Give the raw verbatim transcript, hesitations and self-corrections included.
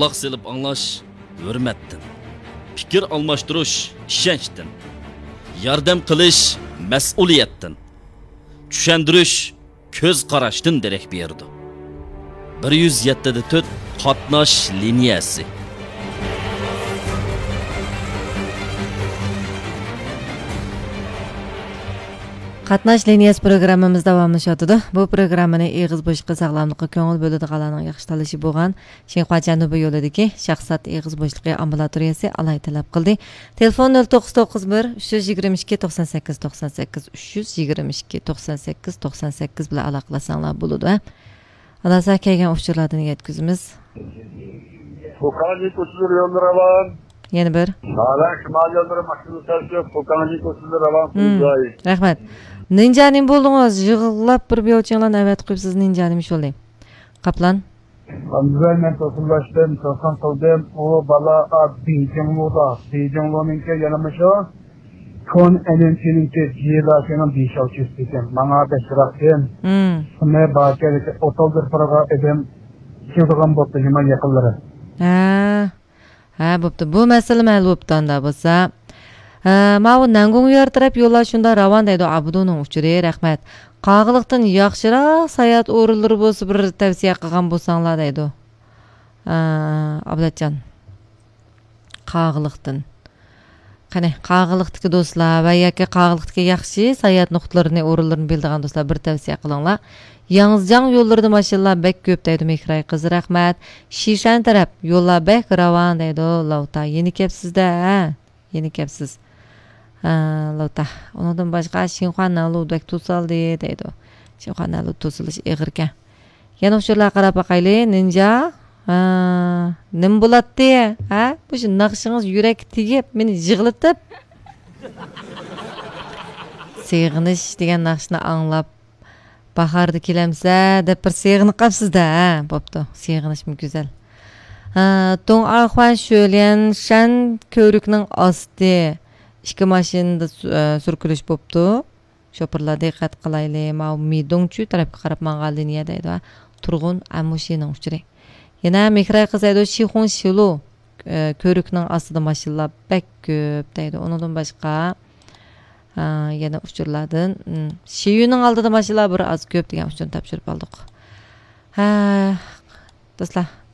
قۇلاق سېلىپ ئاڭلاش ھۆرمەتتىن، پىكىر ئالماشتۇرۇش ئىشەنچتىن، ياردەم قىلىش مەسئۇلىيەتتىن، چۈشەندۈرۈش كۆز قاراشتىن دېرەك بېرىدۇ. بىر يۈز يەتتە دە تۆت قاتناش لىنىيەسى. قاتناش لىنىيەسى پروگراممىمىز داۋاملىشىۋاتىدۇ. بۇ پروگراممىنى ئېغىز بوشلۇقى ساغلاملىققا كۆڭۈل بۆلىدىغانلارنىڭ ياخشى تاللىشى بولغان شىنخۇا جەنۇبىي يولىدىكى شاھزات ئېغىز بوشلۇقى ئامبۇلاتورىيەسى ئالاھىدە تەلەپ قىلدى. تېلېفون نۆل توققۇز توققۇز بىر، ئۈچ يۈز يىگىرمە ئىككى، توقسان سەككىز، توقسان سەككىز، ئۈچ يۈز يىگىرمە ئىككى، توقسان سەككىز، توقسان سەككىز بىلەن ئالاقىلاشساڭلار بولىدۇ. ئالاسا كەلگەن ئۇچۇرلاردىن يەتكۈزىمىز. پوكانى كوچىلىرى يولى راۋان. يەنە بىر. ھالا شىمال يوللىرى ماشىنا سەرسىز، پوكانى كوچىلىرى راۋان. مم. قىلىنجاي. رەھمەت. نىنجا نېمە بولدىڭىز؟ يىغلاپ بىر بىيوچىڭلارنى ئەۋەتىپ قويۇپسىز، نىنجا نېمە ئىش بولدى؟ قاپلان. ئاندىن مەن توسۇنلاشتىم، توسۇن قىلدىم. ئۇ بالا، ئا، بېيجىڭلۇدا. بېيجىڭلۇنىڭكى يەنە مۇشۇ كون ئەنئېنچىنىڭكى جيېداشىنىڭ بىشاۋچىسى ئىكەن. ماڭا بەكرەكتىن. مم. شۇنى باركەن، ئوتالدىر پىرغا ئېدىم. كېلىدىغان بوپتۇ، يامان يېقىنلىرى. ھە. ھە، بوپتۇ. بۇ مەسىلىمۇ ھەل بوپتۇ ئاندا بولسا. ھە، ماۋۇ نەنگۇڭيۈەر تەرەپ يوللار شۇنداق راۋان دەيدۇ، ئابدۇنىڭ ئۇچۇرى، رەھمەت. قاغىلىقتىن ياخشىراق ساياھەت ئورۇنلىرى بولسا بىر تەۋسىيە قىلغان بولساڭلار دەيدۇ. ھە، ئابلەتجان. قاغىلىقتىن. قېنى، قاغىلىقتىكى دوستلار ۋە ياكى قاغىلىقتىكى ياخشى ساياھەت نۇقتىلىرىنى، ئورۇنلىرىنى بىلىدىغان دوستلار بىر تەۋسىيە قىلىڭلار. ياڭزىجاڭ يوللىرىدا ماشىنىلار بەك كۆپ دەيدۇ مېھراي قىز، رەھمەت. شىشەن تەرەپ يوللار بەك راۋان دەيدۇ لاۋتا. يەنە كەپسىز-دە، ھە؟ يەنە كەپسىز. ھە، لاۋتا. ئۇنىڭدىن باشقا شىنخۇا نەنلۇ بەك توسالدى دەيدۇ. شىنخۇا نەنلۇ توسۇلۇش ئېغىركەن. يەنە ئۇچۇرلارغا قاراپ باقايلى. نىنجا، ھە، نېمە بولاتتى؟ ھە؟ مۇشۇ ناخشىڭىز يۈرەككە تېگىپ، مېنى يىغلىتىپ. سېغىنىش دېگەن ناخشىنى ئاڭلاپ، باھاردا كېلەمسە دەپ بىر سېغىنىپ قاپسىز-دە، ھە؟ بوپتۇ، سېغىنىشمۇ گۈزەل. ھە، دۇڭ ئارخۇەن شۆليەن شەن كۆۋرۈكنىڭ ئاستى ئىككى ماشىنىدا سۈ-، ئە، سۈركىلىش بوپتۇ. شوپۇرلار دىققەت قىلايلى، ماۋۇ مىدۇڭچۈ تەرەپكە قاراپ ماڭغان لىنىيە دەيدۇ. تۇرغۇن ئەمۇشىنىڭ ئۇچۇرى. يەنە مېھراي قىز دەيدۇ، شىخۇڭ شىلۇ، ئە، كۆۋرۈكنىڭ ئاستىدا ماشىنىلار بەك كۆپ دەيدۇ. ئۇنىڭدىن باشقا، ئە، يەنە ئۇچۇرلاردىن، ئىم، شىيۈنىڭ ئالدىدا ماشىنىلار بىر ئاز كۆپ دېگەن ئۇچۇرنى تاپشۇرۇپ ئالدۇق. ھە، دوستلار.